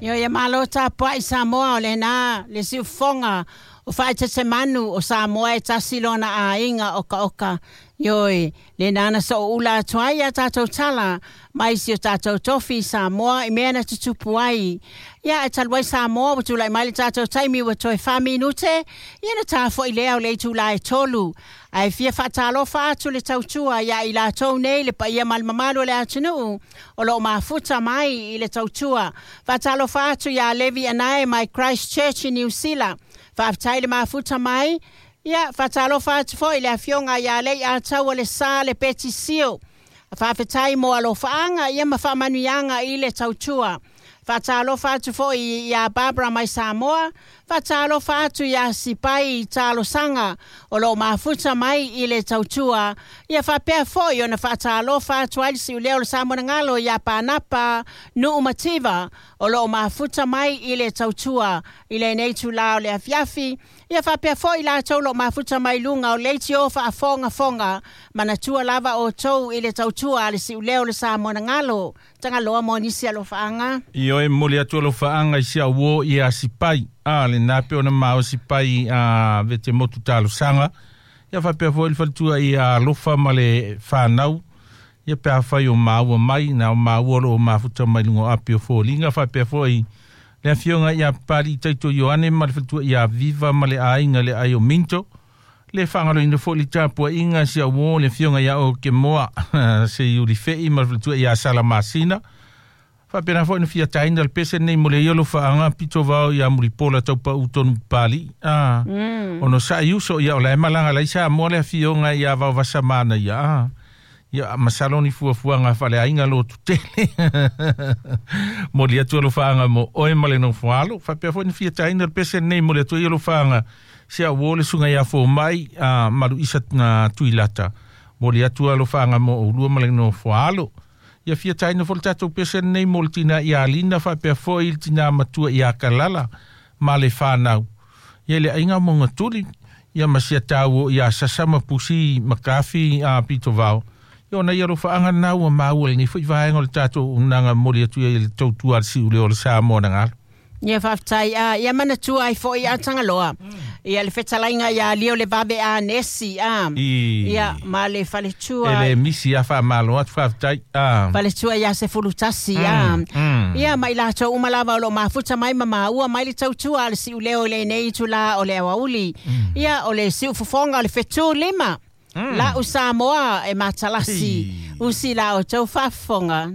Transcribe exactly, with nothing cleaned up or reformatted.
Io ia malo tapua'i Samoa o lena le siufofoga o faaetetemanu o Samoa e tasi lona aiga okaoka. Ioe, lena na so'oula atu ai a tatou tala mai si o tatou tofi Samoa i mea na tutupu ai. Ia e talu ai Samoa ua tulai mai le tatou taimi ua toe fa minute, ia na tafo'i lea o le itulā e tolu. Ae fia faatalofa atu le tautua ia i latou nei le paia ma le mamalu o le atunuu o loo mafuta mai i le tautua. Faatalofa atu iā Levi Anae mai Christchurch i Niu Sila. Faafetai le mafuta mai. Ia, faatalofa atu foi le afioga ia Lei Ataua le Sa le Petisio. Faafetai mo alofaaga ia ma faamanuiaga i le tautua. Faatalofa atu foi iā Barbara mai Samoa. Faatalofa atu iā Sipai Talosaga o loo mafuta mai i le tautua. Ia faapea foi ona faatalofa atu ai le siuleo o le Samonagalo iā Panapa Nuu Mativa o loo mafuta mai i le tautua i lenei itulā o le afiafi. Ia faapea foi latou loo mafuta mai luga o leitio faafogafoga manatua lava outou i le tautua a le siuleo o le Samonagalo. Tagaloa mo nisi alofaaga. Ioe momoli atu alofaaga i si au uō ia Sipai. A lena pe ona mao Sipai a vete motu talosaga. Ia faapea foi le faletua ia Alofa ma le fanau. Ia pe afai o maua mai na o maua o loo mafuta mai luga o api o foliga faapea foi le afioga ia Pali Taito Ioane ma le faletua ia Viva ma le aiga le ai o Minto. Le faagaloina foi le tapuaiga si au uō le afioga ia o Kemoa se Iulife'i ma le faletua ia Salamasina. Faapena foi na fia taina le pese nei mo le ia alofaaga pito vao ia Mulipola taupau tonu pali. Ah, Mm. ono sa iuso ia o la e malaga lai Samoa le afioga ia Vaovasamana ia. Ah. Ia masalo ni fuafuaga faaleaiga lotu tele. Moli atu alofaaga mo oe ma le nofoalo. Faapea foi na fia taina le pese nei mo le atu ia alofaaga si au uō le susuga ia Fomai a malu isa na Tuilata. Moli atu alofaaga mo oulua ma le nofoalo. Ia fia taina foi le tatou pese nei mo le tina ia Lina faapea foi le tina matua ia Kalala ma le fanau. Ia le aiga mo ngatuli ia ma sia tau ia Sasa ma Pusi Makafi a pito vao. Ia ona ia alofaaga na ua maua lenei foi vaega o le tatou unaga moli atu ia i le tautua a le siuleo o le Samoa na galo. Ia faafetai a ia manatua ai foi a Tagaloa. Ia le fetalaiga ia Lio le Vave a Nesi a. I Ia ma le faletua. E le misi a faamalo atu faafetai. Ah. Faletua ia se fulutasi a. Mm. Ia mai latou uma lava o loo mafuta mai ma maua mai le tautua a le siuleo i lenei itulā o le aoauli. Ia o le siufofoga o le fetu lima. Mm. Lau Samoa e matalasi. Hi. Usi la outou faafofoga.